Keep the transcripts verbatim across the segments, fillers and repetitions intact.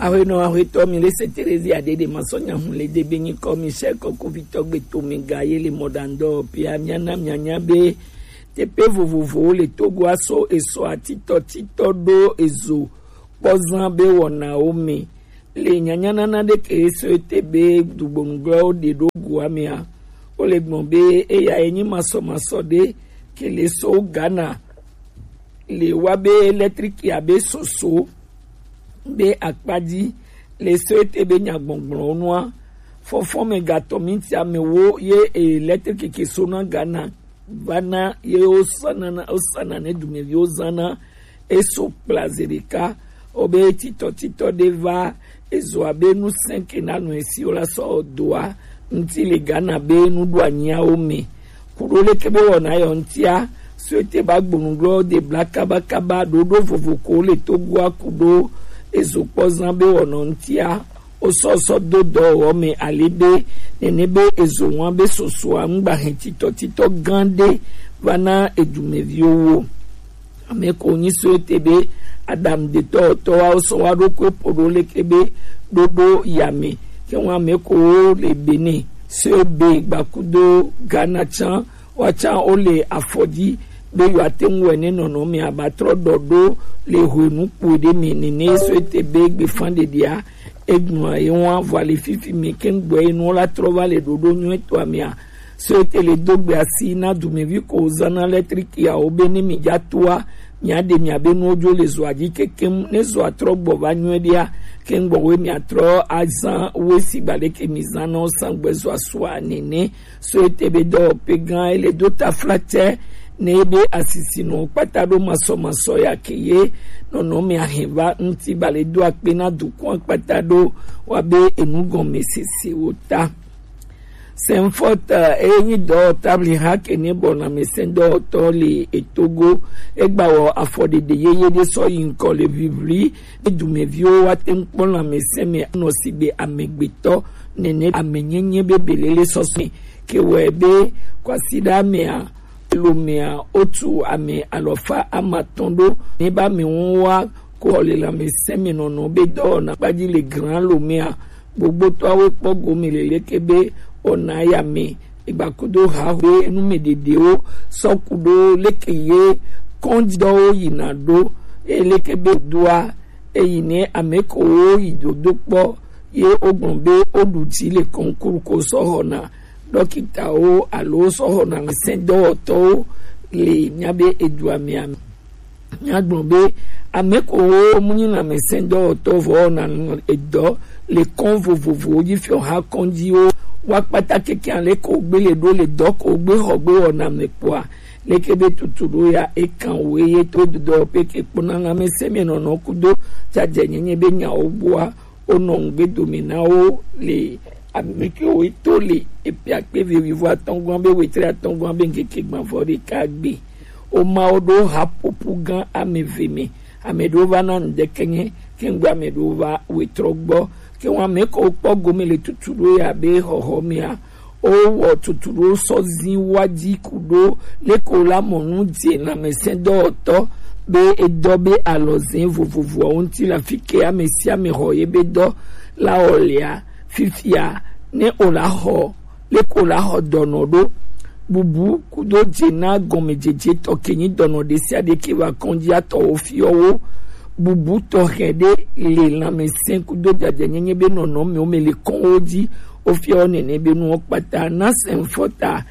Ahuenɔ ahuetɔ mi le se Terezi adede masɔ nyahun le debe nyikɔ mi sɛ kɔkuvitɔ gbeto mi ga ye le mɔdandɔ pia miana mianya be teƒe vovovowo le Togoa so esɔ atitɔ titɔ ɖo ezo kpɔzã be wɔnawo me le nyanyanana ɖeke eso ete be dugbonugblɔwo ɖe ɖo gua mea. Wole gbɔn be eya enyi masɔmasɔ ɖe ke le so Ghana le wa be électrique abe soso be akpa dzi le so ete be nyagbɔgblɔwo nua. Fɔfɔ me gatɔ minti amewo ye électrique ke so na Ghana va na ye wosana na wosana ne dumeviwo zana eso kpla zi ɖeka. Wobe titɔ titɔ ɖe va ezo abe nu sɛnke na nu esiwo la sɔ doa ŋuti le Ghana be nuɖoanyiawo me. Kuɖo leke be wɔna yɔ ŋutia, so ete ba gbonugblɔ de bla kabakaba ɖoɖo vovo ko le Togoa kuɖo ezo kpɔzã be wɔna ŋutia, wosɔ sɔ do dɔwɔwɔ me ale be nene be ezo ŋua be sosoa ŋgba hɛn titɔ titɔ gã ɖe va na edumeviwo wo. Ame ko nyi so ete be Adam detɔ tɔ wa sɔ wa ɖo ko po ɖo leke be ɖoɖo ya me. Ke ŋua ame ko wo le Benin so be gbakudo Ghana tsan wa tsan wo le afɔdzi be yewoate ŋu wɔ ne nɔnɔme abatrɔ ɖɔ ɖo le hwenu kpui ɖe me nene so ete be gbefan ɖeɖea egblɔa ye ŋua vɔ le fifi me ke ŋgbɔ ye nuwo la trɔ va le ɖoɖo nyuietɔa mea. So ete le do gbe asi na dumevi ko zana letrikiawo be ne mi dza toa mia ɖe mia be nuwo dzo le zoa dzi kekem ne zoa trɔ gbɔ va nyuie ɖea ke ŋgbɔ we mia trɔ azan we si gba ɖeke mi zan na wo san gbe zoa sua nene. So ete be dɔwɔƒe gã ele do taflatse ne ebe asisinɔ kpata ɖo masɔmasɔ ya ke ye nɔnɔme ahɛva ŋuti bale do akpe na dukɔa kpata ɖo wa be enu gɔme sesewo ta. Sɛnfɔt eye nyi dɔwɔtabli ha ke ne bɔ lãmesẽ dɔwɔtɔ le etogo egba wɔ afɔɖeɖe yeye ɖe sɔ yi ŋkɔ le ʋiʋli ne dumeviwo wa te ŋu kpɔ lãmesẽ me nɔ sigbe amegbetɔ nene amenyenye be belele sɔsɔ me ke wɔe be kwasiɖa mea lomea wotu ame alɔfa amatɔn ɖo ne ba me ŋu wa ko xɔ le lãmesẽ me nɔnɔ be dɔwɔna kpadzi le gran lomea gbogbotɔawo kpɔ gome le leke be wɔna ya me egbakudo haho be numeɖeɖewo sɔ ku ɖo leke ye kɔndidɔwo yina ɖo eye leke be doa eyi ne ame ko wo yi dodo kpɔ ye wogblɔ be woɖu dzi le kɔnkuru ko sɔ xɔna ɖɔkitawo alo sɔ xɔna sɛndɔwɔtɔwo le mía be edua mea me. Míagblɔ be ame ko wo mu nyi lãmesẽdɔwɔtɔ vɔ wɔna edɔ le kɔn vovovowo dzi fiɔ ha kɔndziwo wa kpata keke ale ko gbe le ɖo le dɔ ko gbe xɔ gbe wɔna me kpɔa leke be tutu ɖo ya ekan wo eye to dɔ pe ke kpɔna lãmesẽ me nɔnɔ kudo dzadzɛ nyenye be nyawo gbɔa wonɔ ŋugbe dome na wo le ame kewo to le epiakpe vevivo atɔ̃gɔa be wetre atɔ̃gɔa be ŋkeke gbãvɔ ɖeka gbe. Woma wo ɖo haƒoƒu gã ame eve me. Ame ɖewo va na ŋdeke nye kengbe ame ɖewo va wetrɔ gbɔ. Ke wo ame kewo kpɔ gome le tutu ɖo ya be xɔxɔ mea wowɔ tutu ɖo sɔ zi wa dzi ku ɖo leke wo la mɔ nu dze lãmesẽdɔwɔtɔ be edɔ be alɔzẽ vovovoawo ŋuti le afi ke ame sia ame xɔ ye be dɔ la wɔ lea fifia ne o la xɔ leke o la xɔ dɔnɔ ɖo bubu kudo dze na gɔmedzedze tɔ ke nyi dɔnɔ ɖe sia ɖe ke va kɔndzia tɔwo fiɔwo bubu tɔxɛ ɖe le lãmesẽ kudo dzadzɛnyenye be nɔnɔmewo me le kɔnwo dzi wofiɔ nene be nuwo kpata na sɛnfɔta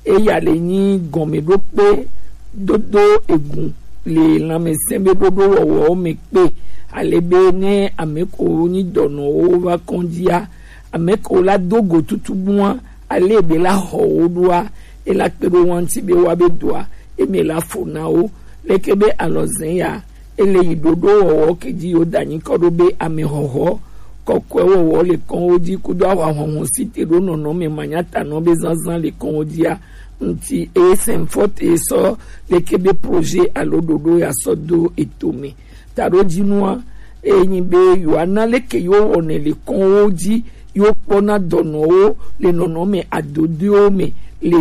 eya le nyi gɔmeɖokpe dodo egu le lãmesẽ be ɖoɖo wɔwɔwo me kpe ale be ne ame ko nyi dɔnɔwo va kɔndzia ame ko la do go tutu bua ale be la xɔ wo ɖoa ela kpe ɖo wa ŋuti be wa be doa eme la fo na wo leke be alɔzẽ ya ele yi ɖoɖo wɔwɔ ke dzi yo da nyikɔ ɖo be ame xɔxɔ kɔkɔe wɔwɔ le kɔnwo dzi kudo awa xɔxɔ si te ɖo nɔnɔme manyatanɔ be zazã le kɔnwo dzia ŋuti eye sɛnfɔ te sɔ leke be projet alo ɖoɖo ya sɔ do eto me taɖo dzinua eye nyi be yewoana leke yewo wɔnɛ le kɔnwo dzi yewo kpɔna dɔnɔwo le nɔnɔme adodoewo me le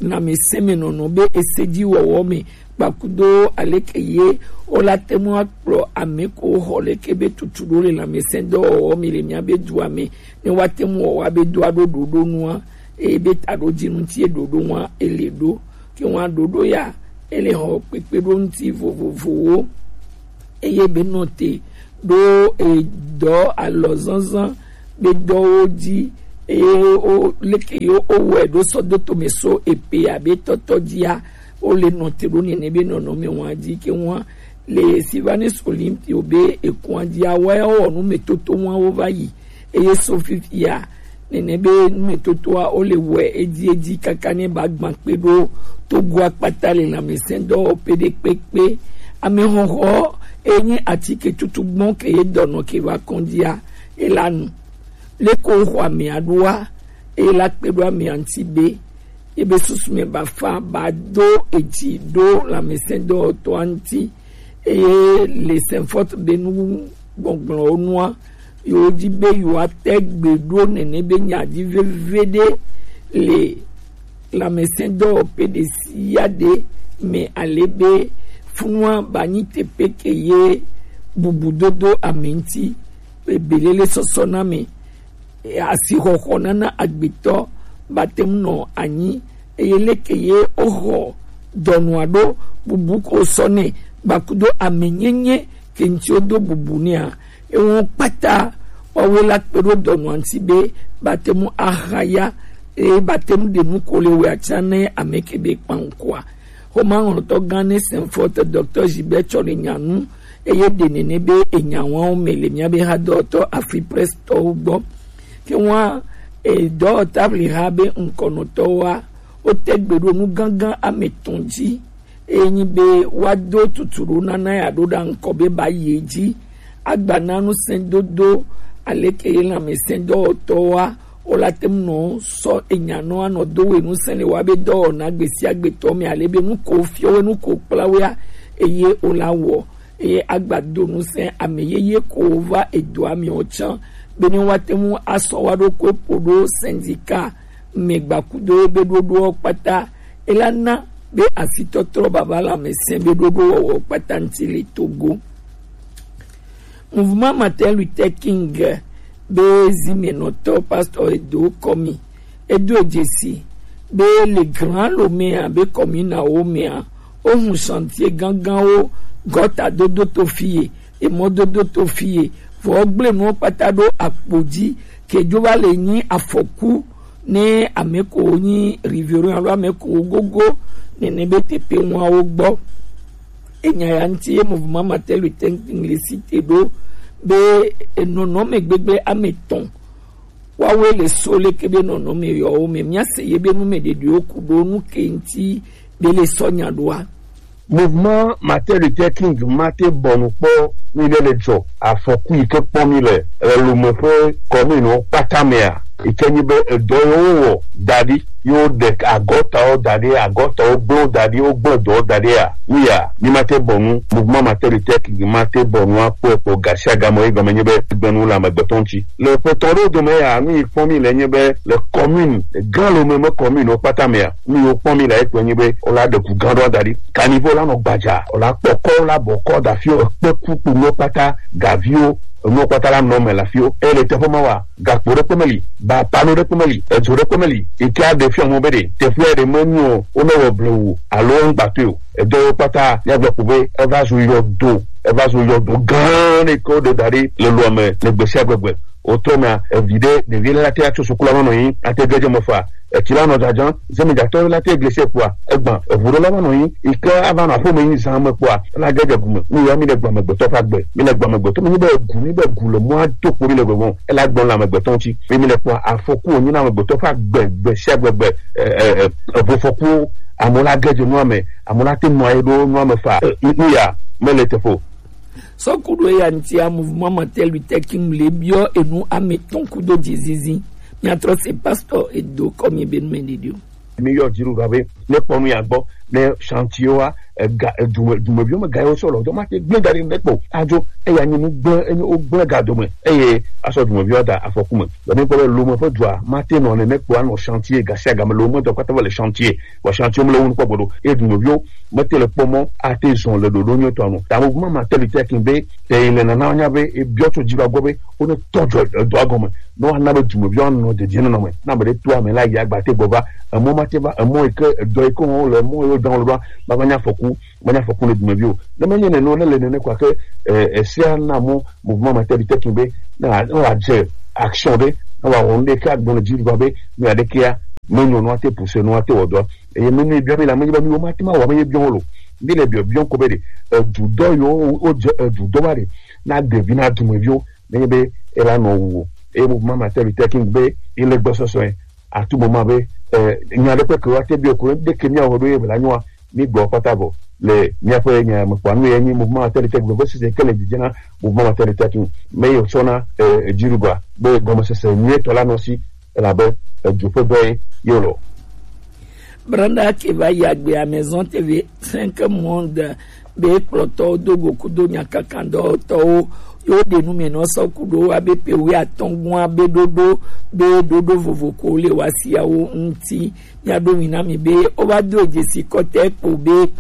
lãmesẽ me nɔnɔ be ese dzi wɔwɔ me kpakudo aleke ye wo la te ŋu akplɔ ame ko xɔ leke be tutu ɖo le lãmesẽdɔwɔwɔ mi le mía be dua me, ne woate ŋu wɔ woa be do aɖo ɖoɖo nua, eye be taɖodzinu ŋuti ye ɖoɖo ŋua ele ɖo. Ke ŋua ɖoɖo ya ele xɔ kpekpeɖo ŋuti vovovowo, eye be nɔ te ɖo edɔ alɔzazã be dɔwo dzi, eye wo leke ye wowɔe ɖo sɔ do tome so epe abe tɔtɔ dzia, wo le nɔ te ɖo nene be nɔnɔme wa dzi ke ŋua le Sylvanus Olympio be ekua dzia, woawo wɔ numetoto wa wo va yi, eye so fifia nene be numetotoa wo le wɔe edzi edzi kaka ne ba gbã kpe ɖo Togo akpata le lãmesẽdɔwɔƒe ɖe kpekpe. Amexɔxɔ enye atike tutu gbɔn ke ye dɔnɔ ke va kɔndzia, e la nu. Leke woxɔ amea ɖoa, e la kpe ɖo amea ŋuti be ebe susu me bafa ba do edzi ɖo lãmesẽdɔwɔtɔa ŋuti, eye le Saint Fort be nu gbɔgblɔwo nua, yewo di be yewoate gbe ɖo nene be nya dzi veve ɖe le lãmesẽdɔwɔƒe ɖe sia ɖe me, ale be funua ba nyi teƒe ke ye bubu dodo ame ŋuti, ebelele sɔsɔ na me, asixɔxɔ nana agbetɔ ba te ŋu nɔ anyi, eye leke ye woxɔ dɔnɔa ɖo bubu ko sɔ nɛ gbakudo amenyenye ke ŋuti wodo bubu nɛa, ewo kpata woawoe la kpe ɖo dɔnɔa ŋuti be ba te ŋu ahaya, eye ba te ŋu ɖe nu ko le wɛ atsa ne ame ke be kpaŋkɔa. Xomãŋlɔtɔ gã ne Saint Fort, Docteur Gilbert Tsɔle nya nu, eye ɖe nene be enya wawo me le mía be hadɔwɔtɔ Afripress tɔwo gbɔ. Ke wa edɔwɔtabli ha be ŋkɔnɔtɔwoa, wote gbe ɖo nu gãgã ame etɔ̃ dzi, eye nyi be woado tutu ɖo nana ya ɖo ɖa ŋkɔ be ba yi edzi, agba na nusẽdodo aleke ye lãmesẽdɔwɔtɔwoa, wo la te ŋu nɔ sɔ enya nɔ anɔ do we ŋusẽ le wa be dɔwɔna gbe sia gbe tɔ me, ale be nu ko fiɔ we, nu ko kpla wea, eye wo la wɔ, eye agba do ŋusẽ ame yeye ko va edoa me o tsã, be ne woate ŋu asɔ wa ɖokui ƒo ɖo syndicat me gbakudo be ɖoɖoɔ kpata, e la na be asitɔtrɔ baba lãmesẽ be ɖoɖowɔwɔ kpata ŋuti le Togo. Mouvement Martin Luther King be zimenɔtɔ Pastor Edo Komi, edo dzesi be le Grand Lomé abe commune awo mea, wohu chantier gãgãwo, gɔta dodo to fie, emɔdodo to fie, vɔ gble nuwo kpata ɖo akpo dzi, ke dzo va le nyi afɔku ne ame ko nyi rivero alo ame ko gogo nene be teƒe ŋuawo gbɔ. Enya ya ŋuti ye Mouvement Martin Luther King le cité ɖo be enɔnɔme gbegblẽ ame etɔ̃ woawoe le so leke be nɔnɔme yɔwo me. Míase ye be numeɖeɖewo ku ɖo nu ke ŋuti be le sɔ nya ɖoa. Mouvement Martin Luther King mate bɔnu kpɔ mi ɖe le dzɔ afɔku yi ke kpɔ mi le, e, Lomé ƒe commune kpata mea, yi ke nyi be edɔ yewo wɔ da ɖi, yewo ɖe agɔtawo da ɖi, agɔtawo gblẽ da ɖi, wogblẽ dɔwo da ɖi ya, mi ya, mi mate bɔnu, Mouvement Martin Luther King mate bɔnu akpɔe kpɔ gasiagame, yi gɔme nyi be gbenu le amegbetɔ ŋuti. Le ƒetɔ ɖewo dome ya, nu yi kpɔm mi le nye be le commune, Grand Lomé me commune wo kpata mea, nu yi wo kpɔm mi le ekpe nyi be wo la ɖe ʋu gã ɖewo da ɖi. Caniveau la nɔ gbadza, wo la kpɔ kɔ, wo la bɔ kɔ da fio, ekpe ku kpo nuwo kpata, gaviwo, enuwo kpata la nɔ me le afio. Eye le teƒe ma wa, gakpo ɖekpe meli, ba pano ɖekpe meli, edzo ɖekpe meli, yi ke aɖe fia mɔ be ɖe teƒea ɖe menyo o, wonɔ wɔ blewu alo ŋgbatɔe o. Edɔ wo kpata, míagblɔ ko be eva zu yɔdo, eva zu yɔdo gã ɖe ke woɖe da ɖi le loa me le gbe sia gbegbe. Wotrɔ mea, evi ɖe, ɖevi ɖe la te atso suku la va nɔ anyi, ate ge dze me fa, etsi la nɔ dzadzam, zemedzatɔ la te glese kpɔa, egbã, eʋu ɖe la va nɔ anyi, yi ke ava nɔ aƒe me yi zã me kpɔa, la ge dze gu me. Nu ya mi le gbɔ amegbetɔ ƒe agbe, mi le gbɔ amegbetɔ, mi nyi be egu, mi be gu le mɔa do kpo mi le gbɔgbɔ, ela gbɔ le amegbetɔ ŋuti. Mi, mi le kpɔa, afɔku wònyi na amegbetɔ ƒe agbe, gbe sia gbe gbe, e, e, e, eʋufɔkuwo, amewo la ge dze nua me, amewo la te nɔ anyi ɖo nua me fa, e, nu, nu ya mele teƒe o. Sɔ ku ɖo eya ŋutia, Mouvement Martin Luther King le biɔ enu ame etɔ̃ kudo dzizizi. Míatrɔ se Pastor Edo Komi be numeɖeɖewo. Mi yɔ dziɖuɖua be ne kpɔ nu ya gbɔ, ne chantier wa, ega, edume, dumeviwo me ga yewo sɔ lɔ, dɔ ma te gblẽ da ɖi ɖe kpo. Adzo, eya nyi nu gblẽ, enyi wo gblẽ ga dome, eye asɔ dumeviwo da afɔku me. Dɔ mi kpɔ be lome ƒe dua, ma te nɔ nene kpo anɔ chantier, ga sia ga me lome dɔ kpata va le chantier, vɔ chantier me le wo nu kpɔ gbeɖo, eye dumeviwo mete le kpɔ mɔ ate zɔn le ɖoɖo nyuitɔ nu. Ta mo ma ma teli tekin be, te le nana nya be, e biɔ to dzi va gbɔ be, wo ne tɔ dzo edɔa gɔme, ne woana be dumeviwo anɔ dedie nɔnɔ me, na ame ɖe to ame la yi agba te gbɔ va, emɔ ma te va, emɔ yi ke, edɔ yi ke wɔm wole, emɔ yiwo dam wole ɖoa, va va nya afɔku, va nya afɔku ne dumeviwo. Ne menye nene o, ne le nene kɔa ke, eh, esia na mɔ mouvement ma teli tekin be, ne wa, ne wa dze action ɖe, ne wa wɔ nu ɖe ke agblɔ ne dzi va be, nu ya ɖe kea, menyo nua te pousse nua te wɔ dɔa. Eye menu ye biɔ mi le ame yi be mi wo ma te ma wɔ ame ye biɔ wo lo. Mi le biɔ biɔ ko be ɖe, edu dɔ yo, wo dze edu dɔ va ɖe, na devi na dumeviwo, menye be e la nɔ wu o. Eye mouvement ma teli tekin be, e le gbɔsɔsɔe, atu mo ma be, eh, nya ɖe kpe ke wa te biɔ ko ɖe ke mi awɔ ɖo ye be la nyoa, mi gbɔ kpata vɔ. Le miaƒe nya me kpɔa nu ye nyi mouvement ma teli tekin be sese ke le dzidze na mouvement ma teli tekin. Me yo sɔ na, eh, dziɖuɖua be gɔmesese nyuitɔ la nɔ si, elabe edu ƒe dɔe ye wòle. Brenda ke va yi agbe à Maison T V cinq Monde be kplɔtɔwo do go kudo nyakakan dɔwɔtɔwo yewo ɖe nu me nɔ sɔ ku ɖo wa be pe wi atɔ̃ gua be ɖoɖo be ɖoɖo vovo ko le wa siawo ŋuti. Mia ɖo mi na mi be wo va do dzesi kɔtɛ kpo be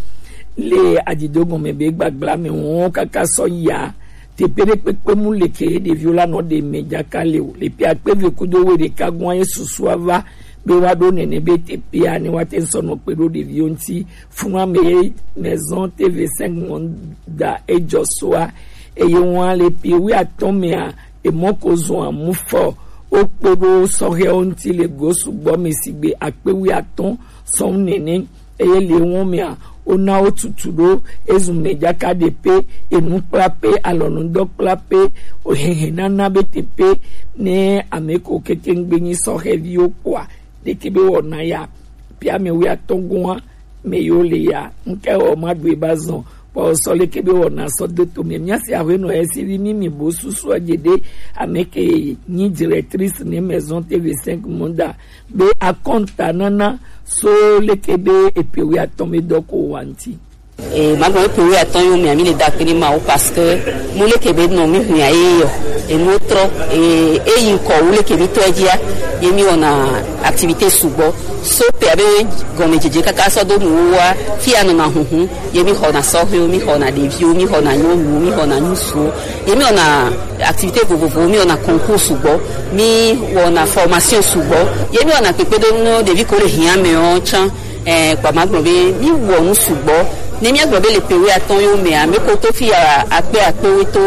le adzido gɔme be gbagla me wɔn kaka sɔ ya teƒe ɖe kpekpe mu le ke ɖeviwo la nɔ ɖe me dzaka le o. Le ƒe akpe eve kudo wuiɖeka gɔa ye susua va be woaɖo nene be teƒea ne woate ŋu sɔ nɔ kpe ɖo ɖeviwo ŋuti. Funua me ye Maison T V cinq Monde da edzɔ soa, eye woa le ƒe wuiatɔ̃ mea, emɔ ko zɔa mu fɔ wokpe ɖo sɔhɛwo ŋuti le go sugbɔ me sigbe akpe wuiatɔ̃ sɔn nene. Eye le wɔn mea, wona wo tutu ɖo ezu me dzaka ɖe pe, enu kpla pe, alɔnudɔ kpla pe, ohehe nana be te pe, ne ame ko kete ŋgbe nyi sɔhɛviwo kpɔa, ɖeke be wɔna ya, pe ame wuiatɔ̃ gɔa me yo le ya, ŋke wɔ ma ɖu eba zɔn, kpɔ sɔ leke be wɔna sɔ do to me. Mia si awe nɔ esi vi mi mi bo susu adze ɖe ame ke nyi directrice ne Maison T V cinq Monde be akɔnta nana so leke be epe wuiatɔ̃ me dɔ ko wa ŋuti. E, magblɔ epe wuiatɔ̃ yo mea, mi le da akpe ne Mawu parce que mu leke be nɔ mi hu ya ye yɔ. Enu trɔ, e, eyi ŋkɔ wu leke mi tɔ edzia, ye mi wɔna activité sugbɔ. So pe abe gɔmedzedze kaka sɔ do nuwo wa, fi ya nɔna huhu, ye mi xɔna sɔhɛwo, mi xɔna ɖeviwo, mi xɔna nyɔnuwo, mi xɔna ŋutsuwo, ye mi wɔna activité vovovowo, mi wɔna concours sugbɔ, mi wɔna formation sugbɔ, ye mi wɔna kpekpeɖeŋu ɖevi ko le hiã me ɔ tsã. Eh, kpa ma gblɔ be mi wɔ nu sugbɔ. Ne mi gblɔ be le pe wuiatɔ̃ yo mea, mi ko to fi ya akpe akpe wo to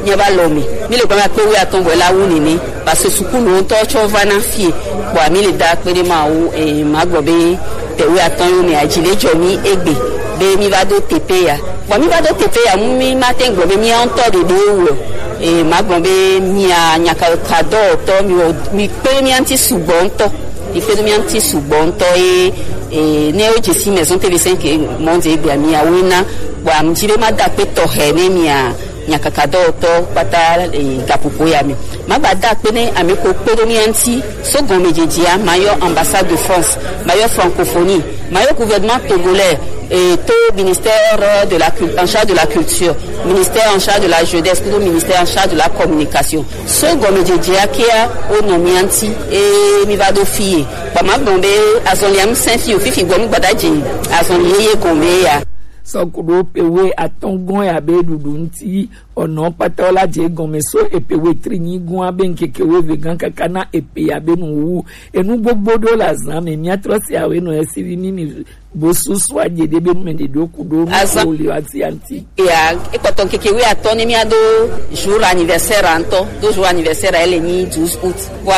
mi ba lɔ mi. Mi le gblɔ akpe wuiatɔ̃ bɔ la wu nene. Parce que sukulu ŋutɔ tsɔ va na fie. Kpɔ mi le da akpe ɖe Mawu, eh, ma gblɔ be pe wuiatɔ̃ yo mea, dzi le dzɔ mi egbe be mi va do teƒe ya. Vɔ mi va do teƒe ya, mu mi ma te gblɔ be mi ŋutɔ ɖe ɖe wo. Eh, ma gblɔ be mi a nyaka ka dɔ tɔ mi wɔ mi kpe mi anti sugbɔ ŋutɔ. Yi kpe ɖo mía ŋuti sugbɔ ŋutɔ ye, e, ne wo dze si Maison T V cinq Monde egbea mia woe na, bɔ amu dzi be ma da akpe tɔxɛ ne mia nyakaka dɔwɔtɔ kpata, e, gaƒoƒo ya me. Ma gba da akpe ne ame ko kpe ɖo mía ŋuti so gɔmedzedzea, ma yɔ ambassade de France, ma yɔ francophonie, ma yɔ gouvernement togolais, e, to ministère de la cul-, en charge de la culture, ministère en charge de la jeunesse, kple ministère en charge de la communication. So gɔmedzedzea kea wonɔ mía ŋuti, eye mi va ɖo fie. Kpa ma gblɔ be azɔlia ŋusẽ fi o, fifi gbɔ mi gbada dzi azɔli yeye gɔme ya. Sɔ ku ɖo epe wuiatɔ̃ gɔ̃ ya be ɖuɖu ŋuti, ɔnɔ kpata la dze gɔme so epe wuietri nyi gɔ̃a be ŋkeke wuieve gã kaka na epe ya be nuwuwu. Enu gbogbo ɖo le azã me, mía trɔ si awe nɔ esi vi mi mi bo susu adze ɖe be nume ɖe ɖo ku ɖo nu Azã. Ko le asi anti. Ya, ekpɔtɔ ŋkeke wuiatɔ̃ ne mía do jour anniversaire ŋutɔ, do jour anniversaire ele nyi douze août. Wa,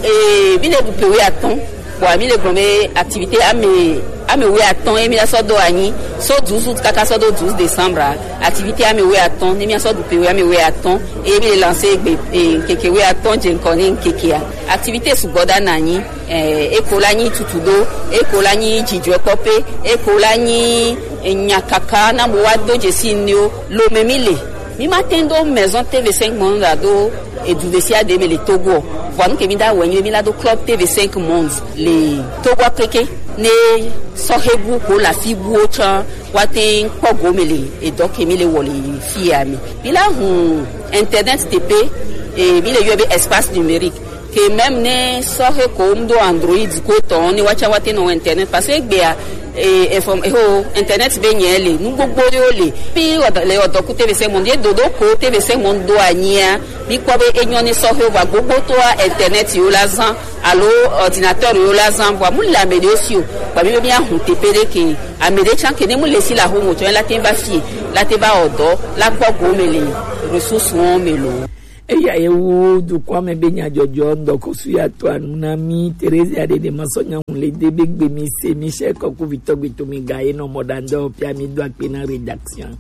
e, mi le ɖu pe wuiatɔ̃, wa mi le gblɔ be activité ame, ame wuiatɔ̃ ye mi la sɔ do anyi, so douze août kaka sɔ do douze décembre, activité ame wuiatɔ̃, ne mía sɔ ɖu pe wui ame wuiatɔ̃, ye mi le lancer egbe, e, ŋkeke wuiatɔ̃ dze ŋkɔ ne ŋkekea. Activité sugbɔ ɖa na anyi. Eh, eko la nyi tutuɖo, eko la nyi dzidzɔkpɔƒe, eko la nyi, eh, nyakaka na bo wa do dzesi nuwo. Lome mi le. Mi ma te do Maison T V cinq Monde la do edu ɖe sia ɖe me le Togo. Vɔ nu ke mi da wɔ nyi mi la do Club T V cinq Monde le Togo keke. Ne sɔhe bu ko la fi buwo tsã. Wa te kpɔ gome le edɔ ke mi le wɔ le fi ya mi. Mi la hun internet tepe, e, mi le yɔ be espace numérique. Ke même ne sɔhe ko ŋdo Android ko tɔ ne wa tsa wa te nɔ internet parce que egbea, e, inform-, e, ho, internet be nyɛ le, nu gbogbo yo le. Pi ɔdɔ, le ɔdɔ ku T V cinq Monde, ye dodo ko T V cinq Monde do anyia. Mi kpɔ be enyɔ ne sɔhe va gbogbo to a internet yo la zan, alo ordinateur yo la zan, vɔa mu le ame ɖe si o. Vɔa mi be mi ahun tepe ɖe ke ame ɖe tsa ke ne mu le si la ho mo tsɔ la te va fie, la te va ɔdɔ, la kpɔ gome le ressource wɔn me lo. Eya ye wu dukɔa me be nyadzɔdzɔ ŋdɔkɔsu ya to anu na mi. Teresia ɖe ɖe ma sɔ nyaŋu le de be gbe mi se mi se kɔku vitɔ gbe to mi ga ye nɔ mɔ ɖa ŋdɔ pia mi do akpe na rédaction.